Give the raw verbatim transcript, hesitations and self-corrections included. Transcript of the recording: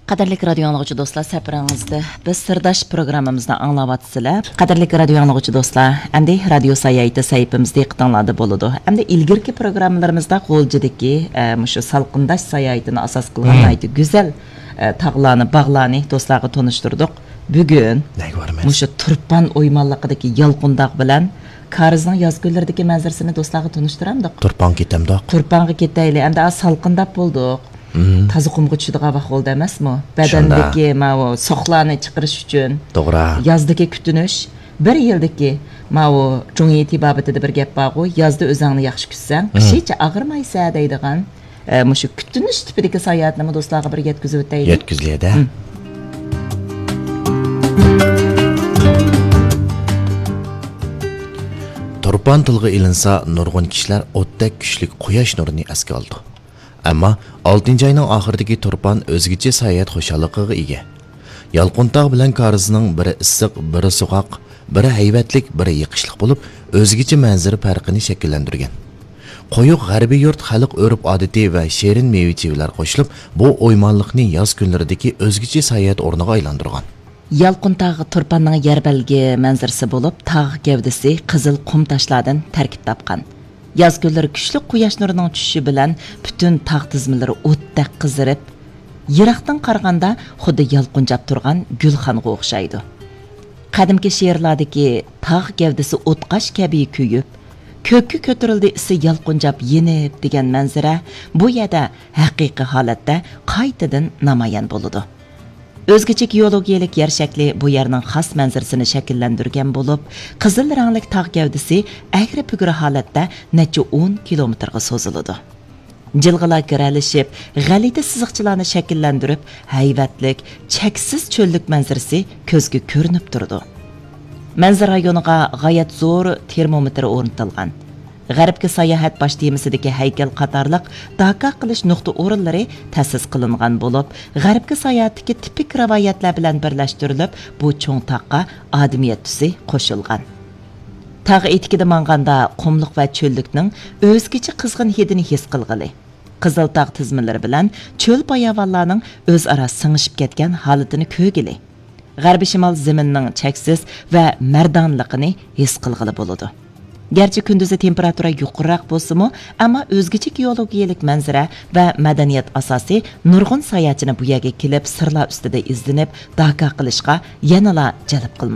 قەدىرلىك رادىيو ئاڭلىغۇچى دوستلار، سەپىرىڭىزدە بىز سىرداش پروگراممىمىزنى ئاڭلاۋاتىسىلەر. قەدىرلىك رادىيو ئاڭلىغۇچى دوستلار، ئەمدى رادىيو ساياھىتى سەھىپىمىز دىققىتىڭلاردا بولىدۇ. ئەمدى ئىلگىرىكى پروگراممىلىرىمىزدا غۇلجىدىكى، ئە، مۇشۇ سالقىنداش ساياھىتىنى ئاساس قىلغان ناھايىتى گۈزەل، ئە، تاغلارنى، باغلارنى دوستلارغا تونۇشتۇردۇق. بۈگۈن مۇشۇ تۇرپان ئويمانلىقىدىكى يالقۇنتاغ بىلەن كارىزنىڭ ياز كۈنلىرىدىكى مەنزىرىسىنى دوستلارغا تونۇشتۇرامدۇق؟ تۇرپانغا كېتەمدۇق؟ تۇرپانغا كېتەيلى. ئەمدى ئاز سالقىنداپ بولدۇق. تازا قۇمغا چۈشىدىغان ۋاق بولدى ئەمەسمۇ؟ بەدەندىكى ماۋۇ سوقلارنى چىقىرىش ئۈچۈن. توغرا. يازدىكى كۈتۈنۈش، بىر يىلدىكى ماۋۇ جۇڭيى تېبابىتىدە بىر گەپ بارغۇ، يازدا ئۆزۈڭنى ياخشى كۈتسەڭ، قىشىچە ئاغرىمايسەن دەيدىغان، ئە، مۇشۇ كۈتۈنۈش تىپىدىكى ساياھەتنىمۇ دوستلارغا بىر يەتكۈزۈۋېتەيلى. يەتكۈزىلىدە. تۇرپان تىلغا ئېلىنسا، نۇرغۇن كىشىلەر ئوتتەك كۈچلۈك قۇياش نۇرىنى ئەسكە ئالىدۇ. ئەمما ئالتىنچى ئاينىڭ ئاخىرىدىكى تۇرپان ئۆزگىچە ساياھەت خۇشاللىقىغا ئىگە. يالقۇنتاغ بىلەن كارىزنىڭ بىرى ئىسسىق، بىرى سوغۇق، بىرى ھەيۋەتلىك، بىرى يېقىشلىق بولۇپ، ئۆزگىچە مەنزىرە پەرقىنى شەكىللەندۈرگەن. قويۇق غەربىي يۇرت خەلق ئۆرپ-ئادىتى ۋە شېرىن مېۋە-چېۋىلەر قوشۇلۇپ، بۇ ئويمانلىقنى ياز كۈنلىرىدىكى ئۆزگىچە ساياھەت ئورنىغا ئايلاندۇرغان. يالقۇنتاغ تۇرپاننىڭ يەر بەلگە مەنزىرىسى بولۇپ، تاغ گەۋدىسى قىزىل قۇم تاشلاردىن تەركىب تاپقان. ياز كۈنلىرى كۈچلۈك قۇياش نۇرىنىڭ چۈشۈشى بىلەن پۈتۈن تاغ تىزمىلىرى ئوتتەك قىزىرىپ، يىراقتىن قارىغاندا خۇددى يالقۇنجاپ تۇرغان گۈلخانغا ئوخشايدۇ. قەدىمكى شېئىرلاردىكى تاغ گەۋدىسى ئوتقاش كەبى كۆيۈپ، كۆككە كۆتۈرۈلدى ئىسى يالقۇنجاپ يېنىپ دېگەن مەنزىرە بۇ يەردە ھەقىقىي ھالەتتە قايتىدىن نامايان بولىدۇ. ئۆزگىچە گېئولوگىيەلىك يەر شەكلى بۇ يەرنىڭ خاس مەنزىرىسىنى شەكىللەندۈرگەن بولۇپ، قىزىل رەڭلىك تاغ گەۋدىسى ئەگرى-پۈگرى ھالەتتە نەچچە ئون كىلومېتىرغا سوزۇلىدۇ. جىلغىلار گىرەلىشىپ، غەلىتە سىزىقچىلارنى شەكىللەندۈرۈپ، ھەيۋەتلىك، چەكسىز چۆللۈك مەنزىرىسى كۆزگە كۆرۈنۈپ تۇرىدۇ. مەنزىرە رايونىغا غايەت زور تېرمومېتىر ئورنىتىلغان. غەربكە ساياھەت باش تېمىسىدىكى ھەيكەل قاتارلىق داكا قىلىش نۇقتا ئورۇنلىرى تەسىس قىلىنغان بولۇپ، غەربكە ساياھەتتىكى تىپىك رىۋايەتلەر بىلەن بىرلەشتۈرۈلۈپ، بۇ چوڭ تاغقا ئادىمىيەت تۈسى قوشۇلغان. تاغ ئېتىكىدە ماڭغاندا قۇملۇق ۋە چۆللۈكنىڭ ئۆزگىچە قىزغىن ھىدىنى ھېس قىلغىلى، قىزىل تاغ تىزمىلىرى بىلەن چۆل باياۋانلارنىڭ ئۆزئارا سىڭىشىپ كەتكەن ھالىتىنى كۆرگىلى، غەربىي شىمال زېمىنىنىڭ چەكسىز ۋە مەردانلىقىنى ھېس قىلغىلى بولىدۇ. گەرچە كۈندۈزى تېمپېراتۇرا يۇقىرىراق بولسىمۇ، ئەمما ئۆزگىچە گېئولوگىيەلىك مەنزىرە ۋە مەدەنىيەت ئاساسى نۇرغۇن ساياھەتچىنى بۇ يەرگە كېلىپ، سىرلار ئۈستىدە ئىزدىنىپ، داكا قىلىشقا يەنىلا جەلپ قىلماقتا.